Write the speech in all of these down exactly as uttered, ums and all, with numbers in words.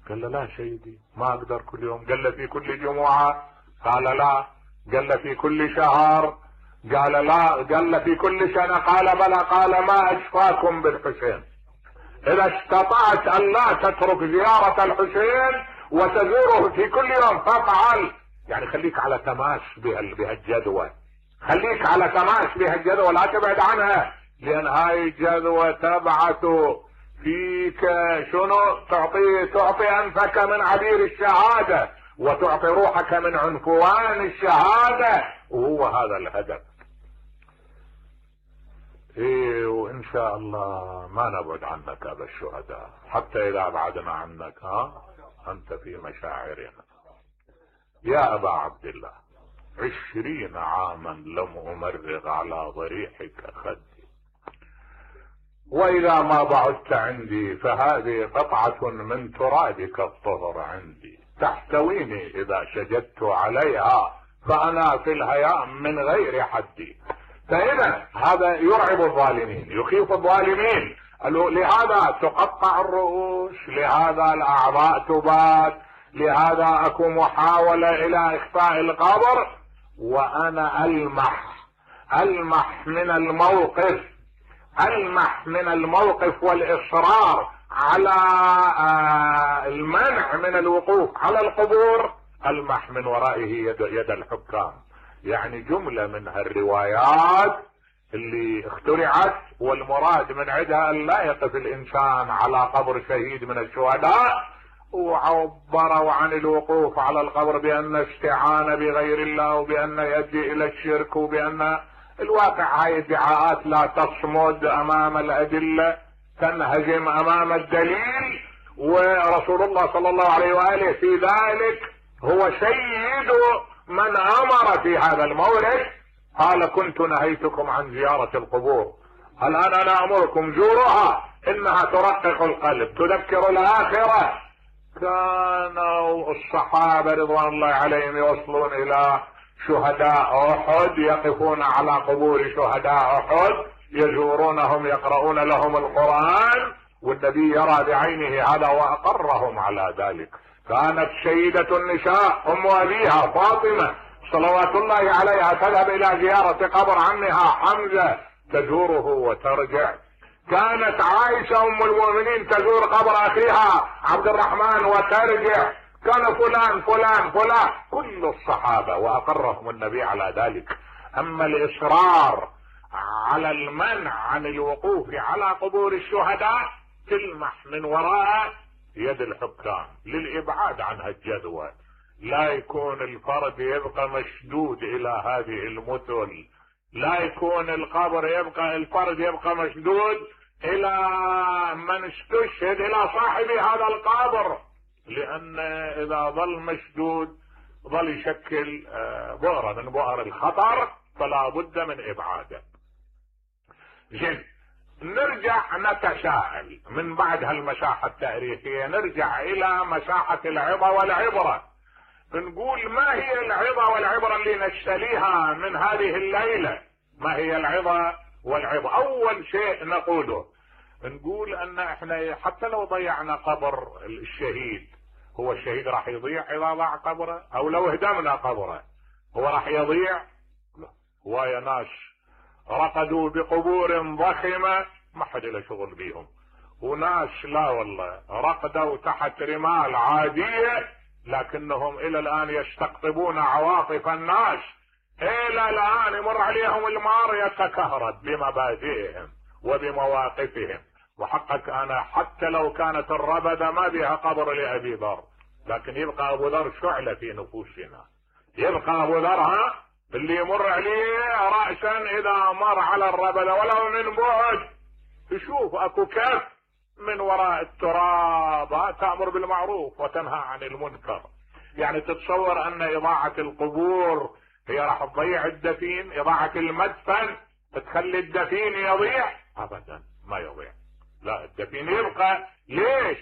قال له لا سيدي ما اقدر كل يوم. قال له في كل جمعة؟ قال لا. قال له في كل شهر؟ قال لا. قال له في كل سنة؟ قال بلى. قال ما اشفاكم بالحسين، اذا استطعت ان لا تترك زيارة الحسين وتزوره في كل يوم فافعل. يعني خليك على تماس بهالجدوى، خليك على تماس بهالجدوى، لا تبعد عنها، لان هاي الجدوى تبعث فيك شنو؟ تعطي تعطي انفك من عبير الشهادة وتعطي روحك من عنفوان الشهادة، وهو هذا الهدف. ايه وان شاء الله ما نبعد عنك ابا الشهداء، حتى اذا بعدنا عنك ها انت في مشاعرنا. يا ابا عبد الله عشرين عاما لم امرغ على ضريحك خدي، واذا ما بعدت عندي فهذه قطعة من ترابك الطهر عندي، تحتويني اذا شجدت عليها فانا في الهيام من غير حدي. فاذا هذا يرعب الظالمين، يخيف الظالمين، لهذا تقطع الرؤوس، لهذا الاعضاء تبات، لهذا اكو محاولة الى اخفاء القبر، وانا المح المح من الموقف المح من الموقف والاصرار على المنع من الوقوف على القبور، المح من ورائه يد, يد الحكام. يعني جملة من هالروايات اللي اخترعت والمراد من عدها ان لا يقف الانسان على قبر شهيد من الشهداء، وعبروا عن الوقوف على القبر بان استعانة بغير الله وبان يؤدي الى الشرك، وبان الواقع هاي ادعاءات لا تصمد امام الادلة، تنهزم امام الدليل. ورسول الله صلى الله عليه وآله في ذلك هو سيد من امر في هذا المورد، قال كنت نهيتكم عن زيارة القبور، الان انا امركم زوروها انها ترقق القلب تذكر الاخرة. كانوا الصحابة رضوان الله عليهم يوصلون الى شهداء احد، يقفون على قبور شهداء احد، يزورونهم، يقرؤون لهم القرآن، والنبي يرى بعينه هذا واقرهم على ذلك. كانت سيدة النساء ام ابيها فاطمة صلوات الله عليها تذهب الى زيارة قبر عمها حمزة تزوره وترجع. كانت عائشة ام المؤمنين تزور قبر اخيها عبد الرحمن وترجع. كان فلان فلان فلان كل الصحابة واقرهم النبي على ذلك. اما الاصرار على المنع عن الوقوف على قبور الشهداء تلمح من وراء يد الحكام للابعاد عن هالجدوى، لا يكون الفرد يبقى مشدود الى هذه المثل، لا يكون القبر يبقى الفرد يبقى مشدود الى من استشهد الى صاحب هذا القبر، لان اذا ظل مشدود ظل يشكل بؤرة من بؤر الخطر، فلا بد من ابعاده. زين نرجع نتساءل من بعد هالمساحة التاريخية، نرجع الى مساحة العظة والعبرة، نقول ما هي العظة والعبرة اللي نشتريها من هذه الليلة؟ ما هي العظة والعبرة؟ اول شيء نقوله نقول ان احنا حتى لو ضيعنا قبر الشهيد، هو الشهيد راح يضيع اذا ضاع قبره؟ او لو هدمنا قبره هو راح يضيع؟ لا. هواية ناس رقدوا بقبور ضخمة ما حد له شغل بيهم، وناس لا والله رقدوا تحت رمال عادية لكنهم الى الان يستقطبون عواطف الناس، الى الان يمر عليهم المار يتكهرب بمبادئهم وبمواقفهم. وحقك انا حتى لو كانت الربدة ما بها قبر لابي ذر، لكن يبقى ابو ذر شعلة في نفوسنا، يبقى ابو ذر ها اللي يمر عليه رأسا اذا مر على الربدة ولو من بعد تشوف اكو كف من وراء التراب تأمر بالمعروف وتنهى عن المنكر. يعني تتصور ان اضاعة القبور هي راح تضيع الدفين؟ اضاعة المدفن تخلي الدفين يضيع؟ ابدا ما يضيع، لا الدفين يبقى. ليش؟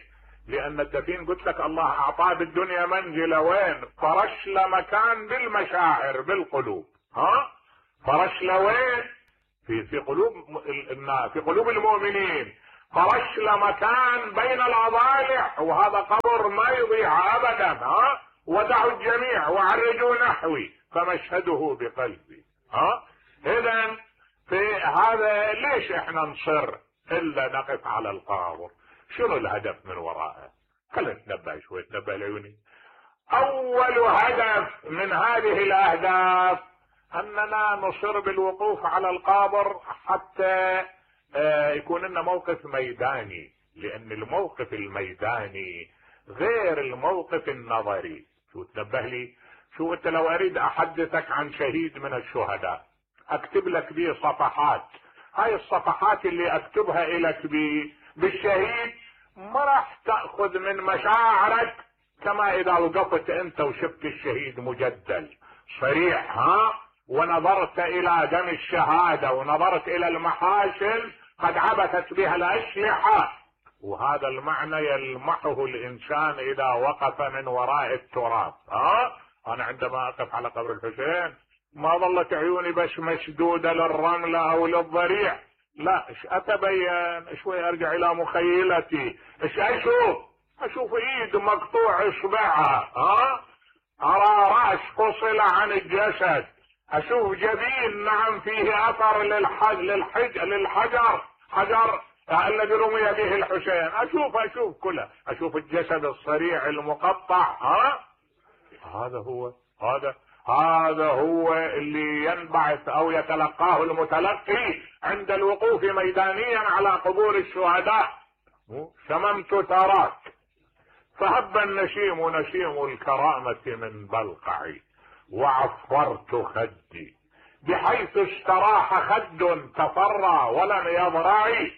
لان الدفين قلت لك الله اعطاه بالدنيا منزلة وين؟ فرش له مكان بالمشاعر بالقلوب، ها فرش له وين؟ في في قلوب الناس، في قلوب المؤمنين، فرش له مكان بين الاضالع، وهذا قبر ما يضيع ابدا. ها ودعوا الجميع وعرجوا نحوي فمشهده بقلبي. ها اذا في هذا ليش احنا نصر الا نقف على القبر؟ شنو الهدف من وراءه؟ خلينا نتنبه شوي، نتنبه لعيوني. اول هدف من هذه الاهداف اننا نصر بالوقوف على القبر حتى يكون لنا موقف ميداني، لان الموقف الميداني غير الموقف النظري. شو تنبه لي؟ شو انت لو اريد احدثك عن شهيد من الشهداء اكتب لك به صفحات، هاي الصفحات اللي اكتبها لك بالشهيد ما راح تأخذ من مشاعرك كما اذا وقفت انت وشفت الشهيد مجدل صريح، ها ونظرت الى دم الشهادة ونظرت الى المحاشل قد عبثت بها الاسلحة. وهذا المعنى يلمحه الانسان اذا وقف من وراء التراب. ها انا عندما اقف على قبر الحسين ما ظلت عيوني بس مشدودة للرملة او للضريع، لا، ايش اتبين شوي، ارجع الى مخيلتي، ايش اشوف؟ اشوف ايد مقطوع اصبعها، ها ارى راس فصل عن الجسد، اشوف جبين نعم فيه اثر للحج للحج للحجر حجر الذي رمي به الحسين، اشوف اشوف كله، اشوف الجسد الصريع المقطع. ها هذا هو هذا هذا هو اللي ينبعث او يتلقاه المتلقي عند الوقوف ميدانيا على قبور الشهداء. شممت تراك فهب النشيم نشيم الكرامة من بلقعي وعفرت خدي بحيث استراح خد تفرى ولم يضرعي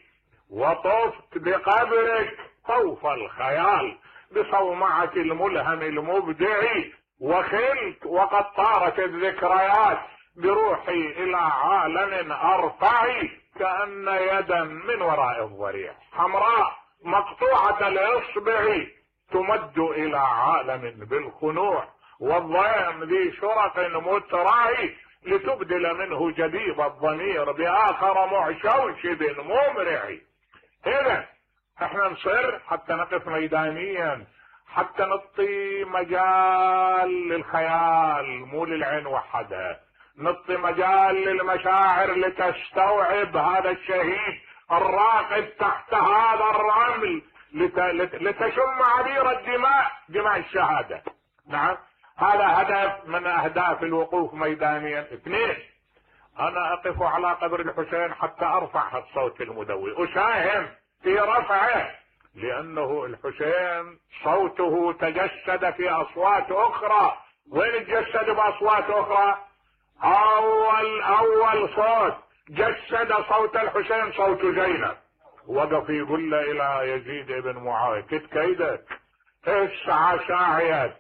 وطفت بقبرك طوف الخيال بصومعة الملهم المبدعي وخلت وقد طارت الذكريات بروحي الى عالم ارفعي كأن يدا من وراء الضريع حمراء مقطوعة الاصبع تمد الى عالم بالخنوع والضيم ذي شرق مترعي لتبدل منه جديد الضمير باخر معشوشب ممرعي. اذا احنا نصر حتى نقف ميدانيا، حتى نعطي مجال للخيال مو للعين وحدها، نعطي مجال للمشاعر لتستوعب هذا الشهيد الراقد تحت هذا الرمل لت... لت... لتشم عبير الدماء دماء الشهادة. نعم هذا هدف من اهداف الوقوف ميدانيا. اثنين، انا اقف على قبر الحسين حتى ارفع الصوت المدوي، اساهم في رفعه، لانه الحسين صوته تجسد في اصوات اخرى. وين تجسد باصوات اخرى؟ اول اول صوت جسد صوت الحسين صوت زينب، وقف يقول له الى يزيد بن معاوية كت كيدك، اسعى سعيك،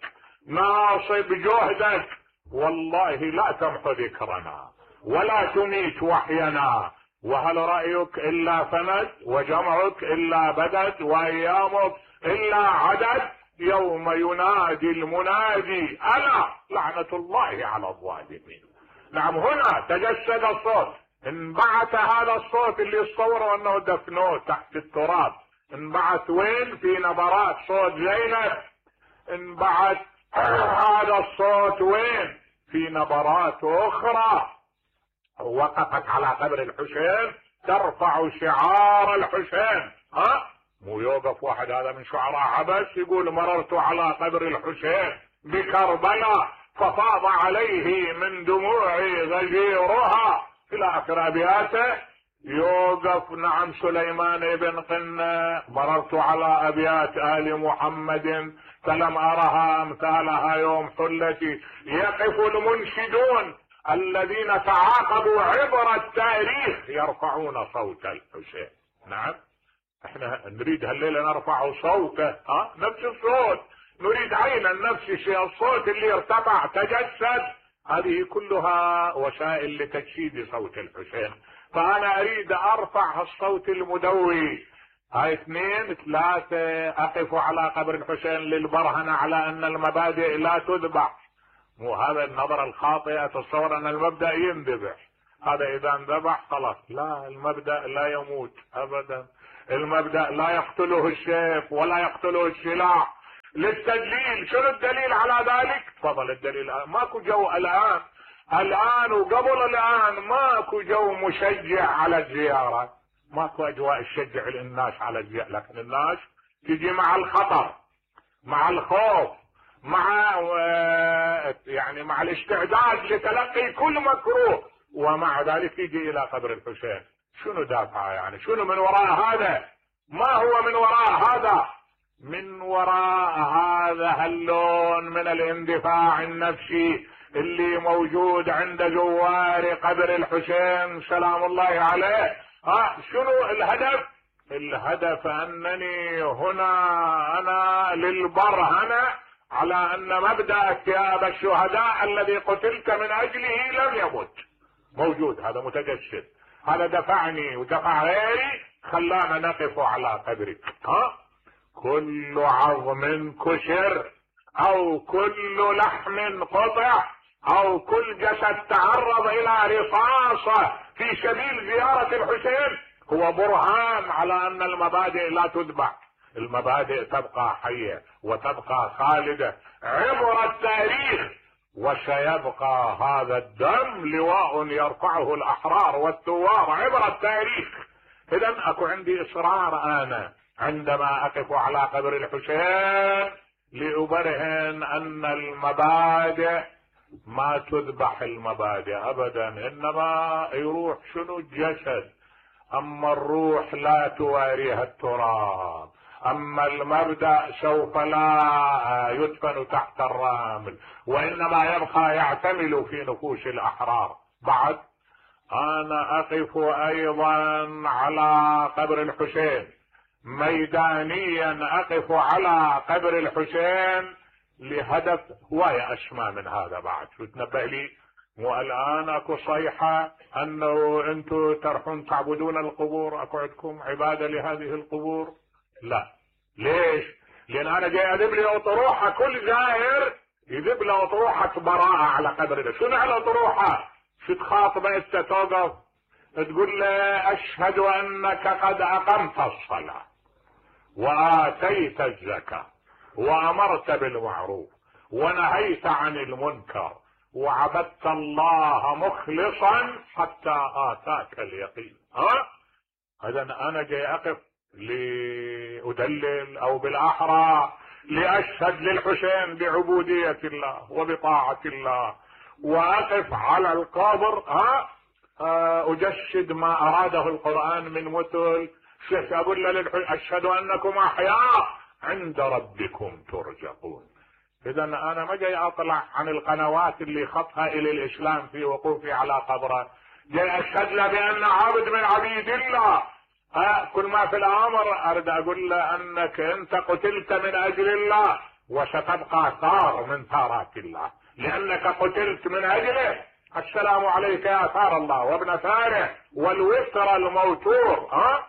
ناصب جهدك، والله لا تمحو ذكرنا ولا تميت وحينا، وهل رأيك الا فند وجمعك الا بدد وايامك الا عدد يوم ينادي المنادي الا لعنة الله على الظالمين. نعم هنا تجسد الصوت، انبعث هذا الصوت اللي يتصوروا انه دفنوه تحت التراب، انبعث وين؟ في نبرات صوت زينب. انبعث هذا الصوت وين؟ في نبرات اخرى. وقفت على قبر الحسين ترفع شعار الحسين. ها مو يوقف واحد هذا من شعراء عبس يقول مررت على قبر الحسين بكربلاء ففاض عليه من دموعي غزيرها الى اخر ابياته. يوقف نعم سليمان بن قنة مررت على ابيات ال محمد فلم ارها امثالها يوم حلتي. يقف المنشدون الذين تعاقبوا عبر التاريخ يرفعون صوت الحسين. نعم احنا نريد هالليله نرفع صوته، ها نفس الصوت، نريد عينا نفس الشيء، الصوت اللي ارتفع تجسد. هذه كلها وسائل لتجسيد صوت الحسين. فانا اريد ارفع الصوت المدوي. هاي اثنين. ثلاثة، اقف على قبر الحسين للبرهنة على ان المبادئ لا تذبح. مو هذا النظرة الخاطئة تصور ان المبدأ ينذبح، هذا اذا انذبح خلاص. لا، المبدأ لا يموت ابدا، المبدأ لا يقتله السيف ولا يقتله السلاح، للتدليل. شنو الدليل على ذلك؟ تفضل الدليل. ماكو جو الان الان وقبل الان ماكو جو مشجع على الزيارة، ماكو اجواء تشجع الناس على الزيارة، لكن الناس تجي مع الخطر، مع الخوف، مع يعني مع الاستعداد لتلقي كل مكروه، ومع ذلك يجي الى قبر الحسين. شنو دافعه يعني؟ شنو من وراء هذا؟ ما هو من وراء هذا؟ من وراء هذا اللون من الاندفاع النفسي اللي موجود عند زوار قبر الحسين سلام الله عليه. ها شنو الهدف؟ الهدف انني هنا انا للبرهنة على ان مبدأ اكتئاب الشهداء الذي قتلت من اجله لم يمت، موجود، هذا متجسد، هذا دفعني ودفع غيري خلانا نقف على قبرك. ها كل عظم كسر او كل لحم قطع او كل جسد تعرض الى رصاصة في سبيل زيارة الحسين هو برهان على ان المبادئ لا تذبح، المبادئ تبقى حية وتبقى خالدة عبر التاريخ، وسيبقى هذا الدم لواء يرفعه الاحرار والثوار عبر التاريخ. اذا اكو عندي اصرار انا عندما اقف على قبر الحسين لأبرهن ان المبادئ ما تذبح، المبادئ ابدا، انما يروح شنو الجسد، اما الروح لا تواريها التراب، اما المبدأ سوف لا يدفن تحت الرمل وانما يبقى يعتمل في نفوس الاحرار. بعد انا اقف ايضا على قبر الحسين ميدانيا، اقف على قبر الحسين لهدف هواية اسمى من هذا. بعد شو تنبه لي؟ مو الان اكو صيحة انه انتم تروحون تعبدون القبور، اكو عندكم عبادة لهذه القبور؟ لا. ليش؟ لان انا جاي اذب لي اطروحة، كل زائر يذب له اطروحة براءة على قبر. شنو على اطروحة؟ شو تخاطبه انت توقف تقول له اشهد انك قد اقمت الصلاة واتيت الزكاة وامرت بالمعروف ونهيت عن المنكر وعبدت الله مخلصا حتى اتاك اليقين. ها اذا انا جاي اقف لأدلل او بالاحرى لاشهد للحسين بعبودية الله وبطاعة الله، واقف على القبر ها اجسد ما اراده القرآن من مثل شيخ اقول له اشهد انكم احياء عند ربكم ترزقون. اذا انا ما جاي اطلع عن القنوات اللي خطها الى الاسلام في وقوفي على قبره، جاي اشهد له بان عبد من عبيد الله. ها كل ما في الامر اريد اقول له انك انت قتلت من اجل الله وستبقى ثار من ثارات الله لانك قتلت من اجله. السلام عليك يا ثار الله وابن ثاره والوتر الموتور. ها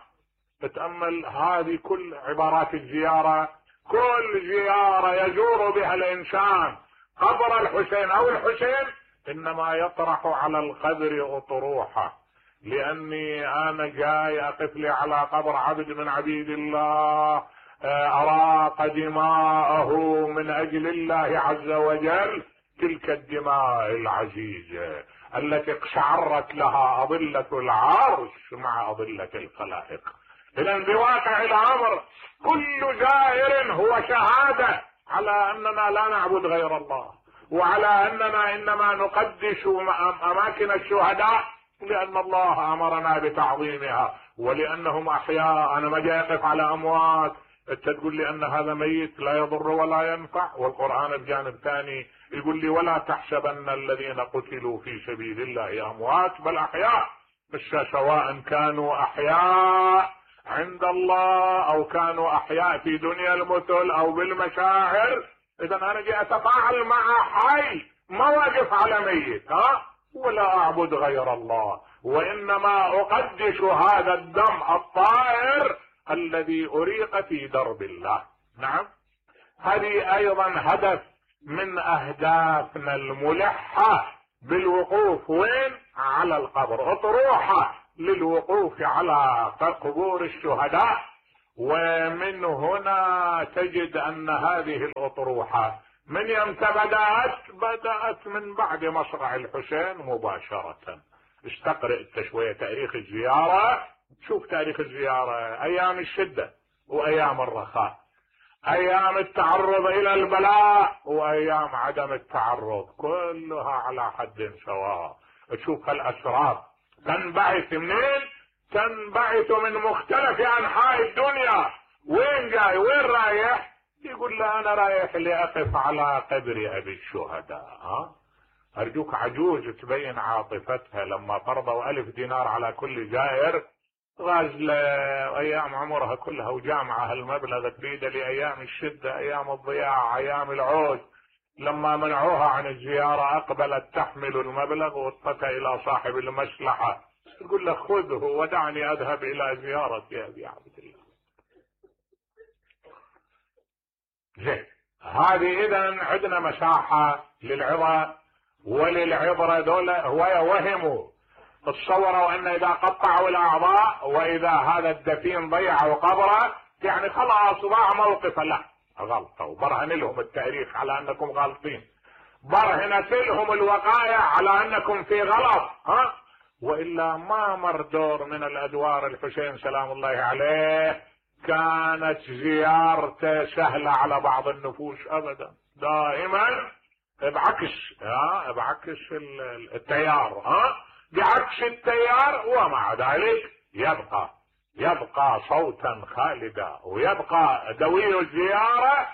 تتأمل هذه كل عبارات الزيارة، كل زيارة يزور بها الانسان قبر الحسين او الحسين انما يطرح على القبر اطروحه، لاني انا جاي اقف لي على قبر عبد من عبيد الله اراق دماءه من اجل الله عز وجل، تلك الدماء العزيزة التي اقشعرت لها اضلة العرش مع اضلة الخلائق. اذا بواقع الامر كل زائر هو شهادة على اننا لا نعبد غير الله، وعلى اننا انما نقدس اماكن الشهداء لان الله امرنا بتعظيمها ولانهم احياء. انا ما جاي اقف على اموات انت تقول لي ان هذا ميت لا يضر ولا ينفع، والقرآن بجانب ثاني يقول لي ولا تحسبن الذين قتلوا في سبيل الله اموات بل احياء، سواء كانوا احياء عند الله او كانوا احياء في دنيا المثل او بالمشاعر. اذا انا جاي اتفاعل مع حي، ما واقف على ميت. ها ولا اعبد غير الله وانما اقدس هذا الدم الطائر الذي اريق في درب الله. نعم هذه ايضا هدف من اهدافنا الملحة بالوقوف وين؟ على القبر، اطروحة للوقوف على قبور الشهداء ومن هنا تجد ان هذه الاطروحة من يمتى بدأت بدأت من بعد مصرع الحسين مباشرة. استقرئ انت شوية تاريخ الزيارة، شوف تاريخ الزيارة، ايام الشدة وايام الرخاء، ايام التعرض الى البلاء وايام عدم التعرض، كلها على حد سواء. تشوف هالاسرار تنبعث منين؟ تنبعث من مختلف انحاء الدنيا. وين جاي؟ وين رايح؟ يقول له انا رايح لاقف على قبر ابي الشهداء. ها ارجوك عجوز تبين عاطفتها لما فرضوا الف دينار على كل زائر غازلة ايام عمرها كلها وجامعة هالمبلغ تريده لايام الشدة، ايام الضياع، ايام العوز. لما منعوها عن الزيارة اقبلت تحمل المبلغ واتقى الى صاحب المصلحة يقول له خذه ودعني اذهب الى زيارة ابي عبد الله. زين، هذه اذا عندنا مساحة للعظة وللعبرة. دول وهموا تصوروا ان اذا قطعوا الاعضاء واذا هذا الدفين ضيعوا قبره يعني خلاص ضاع موقفه. لا، غلطوا. وبرهن لهم التاريخ على انكم غالطين، برهنت لهم الوقائع على انكم في غلط. ها والا ما مر دور من الادوار الحسين سلام الله عليه كانت زيارته سهلة على بعض النفوس ابدا، دائما بعكس ها بعكس التيار، ها بعكس التيار. ومع ذلك يبقى يبقى صوتا خالدا ويبقى دوي الزيارة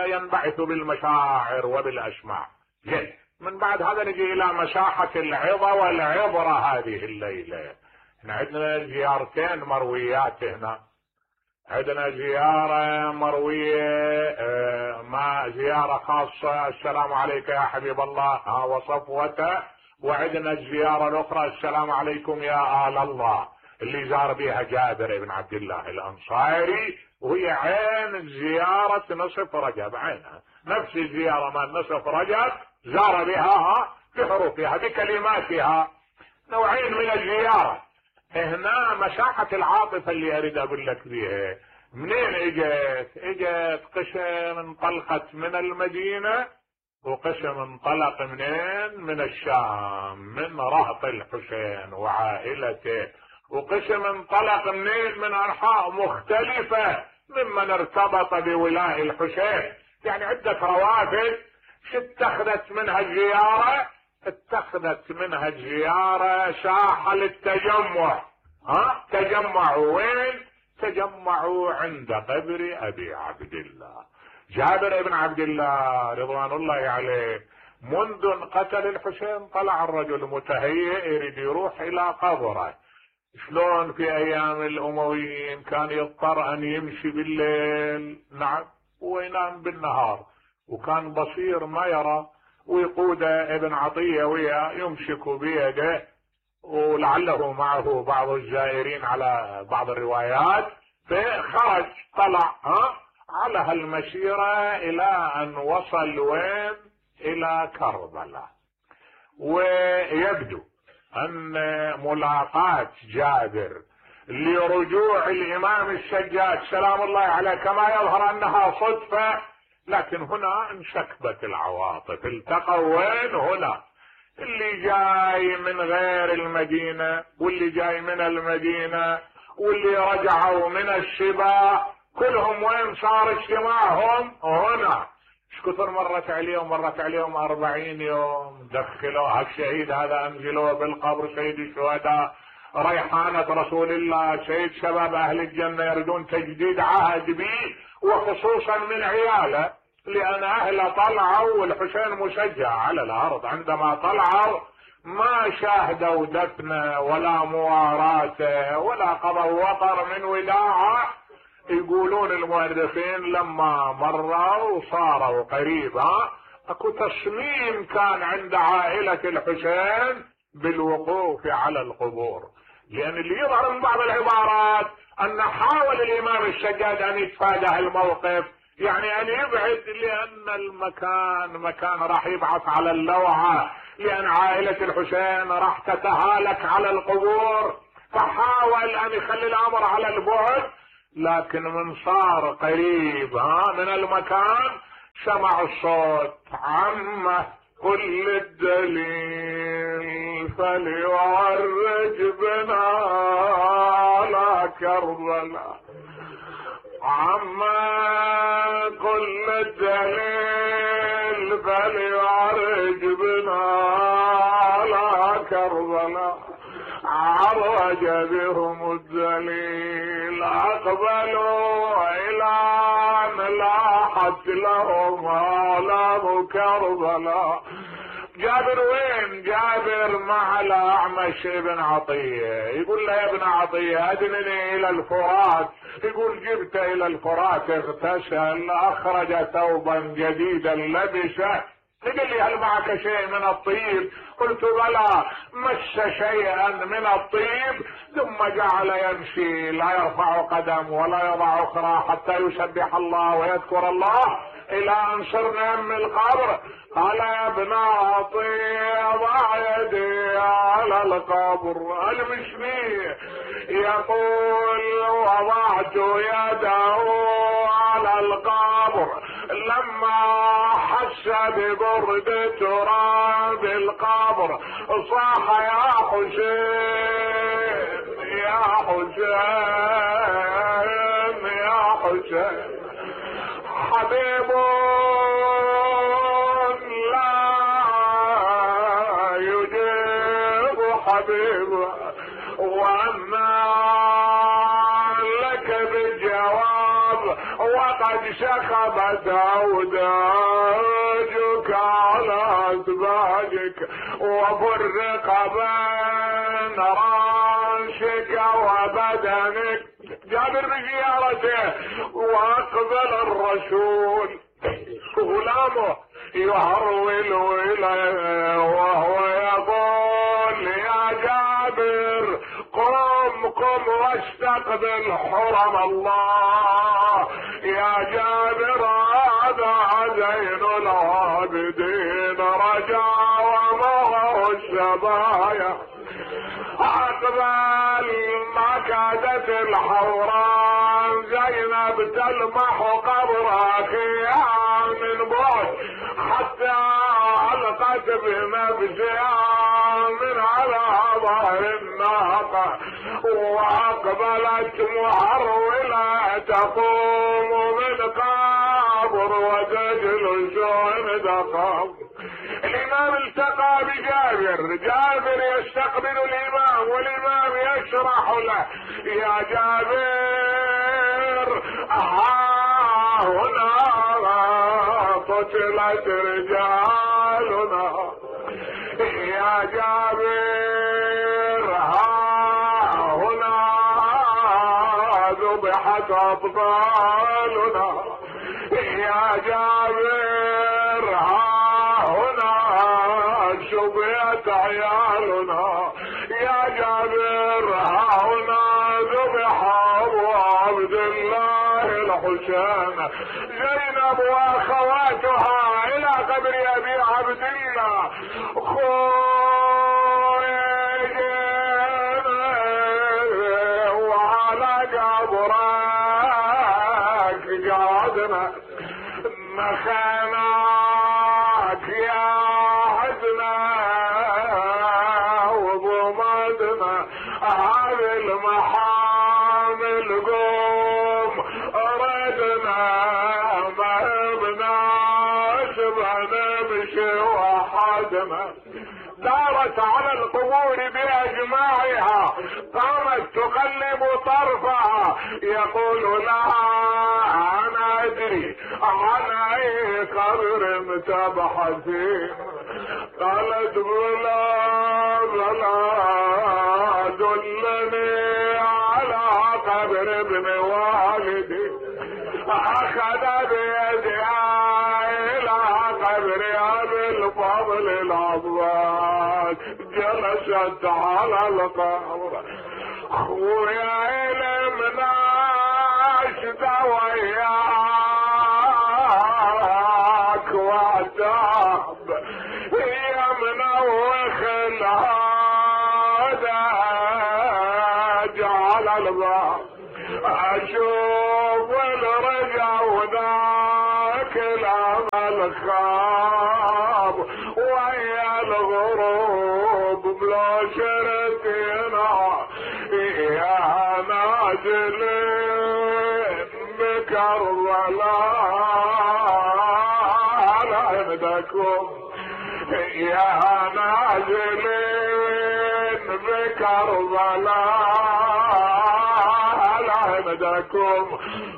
ينبعث بالمشاعر وبالاسماع. جيد، من بعد هذا نجي الى مساحة العظة والعبرة هذه الليلة. احنا عندنا زيارتين مرويات هنا. عندنا زيارة مروية ما زيارة خاصة السلام عليك يا حبيب الله ها وصفوته، وعندنا الزيارة الاخرى السلام عليكم يا آل الله اللي زار بها جابر بن عبد الله الانصاري، وهي عين زيارة نصف رجب، عينها نفس الزيارة مال نصف رجب زار بها بحروفها بكلماتها. نوعين من الزيارة. هنا مساحة العاطفة اللي اريد اقول لك بيها منين اجت؟ اجت قسم انطلقت من المدينة وقسم انطلق منين؟ من الشام، من رهط الحسين وعائلته، وقسم انطلق منين؟ من انحاء مختلفة ممن ارتبط بولاء الحسين. يعني عدة روافد. شو اتخذت منها الزيارة؟ اتخذت منها الزيارة ساحة للتجمع. ها تجمعوا وين؟ تجمعوا عند قبر ابي عبد الله. جابر بن عبد الله رضوان الله عليه منذ قتل الحسين طلع الرجل متهيئ يريد يروح الى قبره. شلون في ايام الامويين كان يضطر ان يمشي بالليل، نعم، وينام بالنهار، وكان بصير ما يرى، ويقود ابن عطية وياه يمسك بيده، ولعله معه بعض الزائرين على بعض الروايات. فخرج طلع ها على هالمسيرة الى ان وصل وين؟ الى كربلاء. ويبدو ان ملاقاة جابر لرجوع الامام السجاد سلام الله عليه كما يظهر انها صدفة، لكن هنا انشكبت العواطف. التقوا وين؟ هنا. اللي جاي من غير المدينة واللي جاي من المدينة واللي رجعوا من الشبا كلهم وين صار اجتماعهم؟ هنا. ايش كثر مرت عليهم؟ مرت عليهم أربعين يوم. دخلوا هالشهيد هذا انزلوه بالقبر سيد الشهداء، ريحانة رسول الله، سيد شباب اهل الجنة يريدون تجديد عهد به وخصوصا من عياله، لان اهله طلعوا والحسين مسجع على الارض. عندما طلعوا ما شاهدوا دفنه ولا مواراته ولا قضوا وطر من وداعه. يقولون المؤرخين لما مروا صاروا قريبا اكو تصميم كان عند عائلة الحسين بالوقوف على القبور، لان اللي يظهر من بعض العبارات ان حاول الامام السجاد ان يتفادى الموقف، يعني ان يبعد، لان المكان مكان راح يبعث على اللوعة، لان عائلة الحسين راح تتهالك على القبور، فحاول ان يخلي الامر على البعد. لكن من صار قريب ها من المكان سمع الصوت: عمه كل الدليل فليعرج بنا على كربلاء. عمه كل الدليل فليعرج بنا على كربلاء. عرج بهم الدليل اقبلوا الى ان لاحت لهم آلام كربلاء. جابر وين؟ جابر مع الأعمش ابن عطية. يقول له: يا ابن عطية ادنني الى الفرات. يقول: جبت الى الفرات، اغتسل، اخرج ثوبا جديدا لبسه. قال لي: هل معك شيء من الطيب؟ قلت: بلى. مس شيئا من الطيب ثم جعل يمشي لا يرفع قدم ولا يضع اخرى حتى يسبح الله ويذكر الله الى ان صرنا من القبر. قال: يا ابن عطية ضع يدي على القبر. المشني يقول: وضعت يده على القبر لما حس ببرد تراب القبر صاح: يا حسين يا حسين يا حسين. حبيب لا يجيب حبيب، وأما لك بالجواب وقد شخبت أوداجك على أسباجك وفرق بين راسك وبدنك. جابر بزيارته واقبل الرسول غلامه يهرول اليه وهو يقول: يا جابر قم قم واستقبل حرم الله. يا جابر هذا زين العابدين رجا ومغر السبايا. اقبل ما كادت الحوران زينب تلمح قبر اخيها من بعد حتى علقت بنفسها من على ظهر الناقه، واقبلت مهروله تقوم من قبر وتجلس عند قبر. الامام التقى بجابر، جابر يستقبل الامام والامام يشرح له: يا جابر ها هنا قتلت رجالنا. يا جابر ها هنا ذبحت اطفالنا. يا جابر ها شبيت عيالنا. يا جابر ها هنا ذبح ابو عبد الله الحسين. زينب واخواتها الى قبر ابي عبد الله. خرجنا وعلى قبرك قعدنا مخاناك يا وضمدنا هذه المحامل قوم ردنا ما بناش بنمشي وحدنا. دارت على القبور باجماعها قامت تقلب طرفها يقول لها: انا ادري عن اي قبر تبحثين. قالت: بلا بلا دلني على قبر ابن والدي. اخذ بيدها الى قبر ابي الفضل العباس. جلست على القبر. خويا علمنا وياك وعتاب يا منوخ الهدى جعل الباب اشوف الخاب ويا الغروب بلا شرتنا يا نازلين بكربلاء لعندكم يا نازلين بكربلاء لعندكم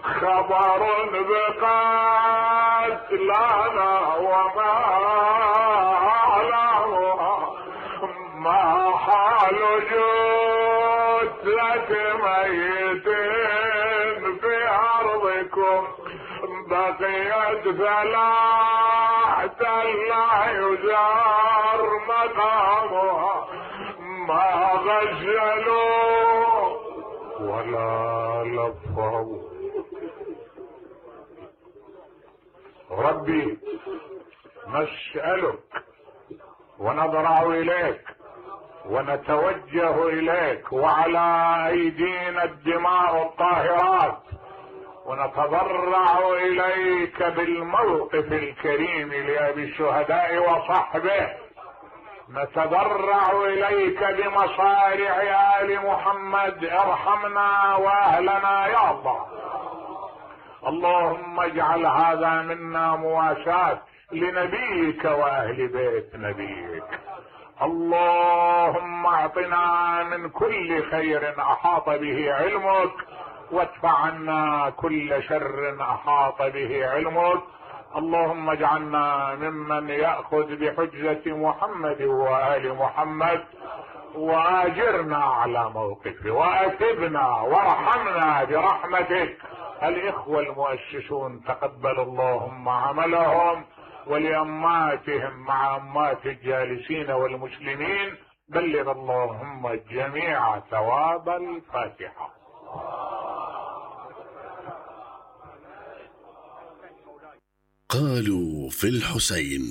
خبر بقتلنا وما له ما حال جثة ميتين في أرضكم بقيت ثلاثة لا يزار مقامها ما غسلوا ولا لفوا. ربي نسألك ونضرع إليك ونتوجه إليك وعلى أيدينا الدماء الطاهرات، ونتضرع إليك بالموقف الكريم لأبي الشهداء وصحبه، نتضرع إليك بمصارع آل محمد، ارحمنا وأهلنا يا الله. اللهم اجعل هذا منا مواساة لنبيك وأهل بيت نبيك. اللهم اعطنا من كل خير احاط به علمك، وادفع عنا كل شر احاط به علمك. اللهم اجعلنا ممن يأخذ بحجة محمد وآل محمد، واجرنا على موقفه، واتبنا وارحمنا برحمتك. الاخوة المؤسسون تقبل اللهم عملهم، ولأماتهم مع أمات الجالسين والمسلمين بلغ اللهم الجميع ثواب الفاتحة. قالوا في الحسين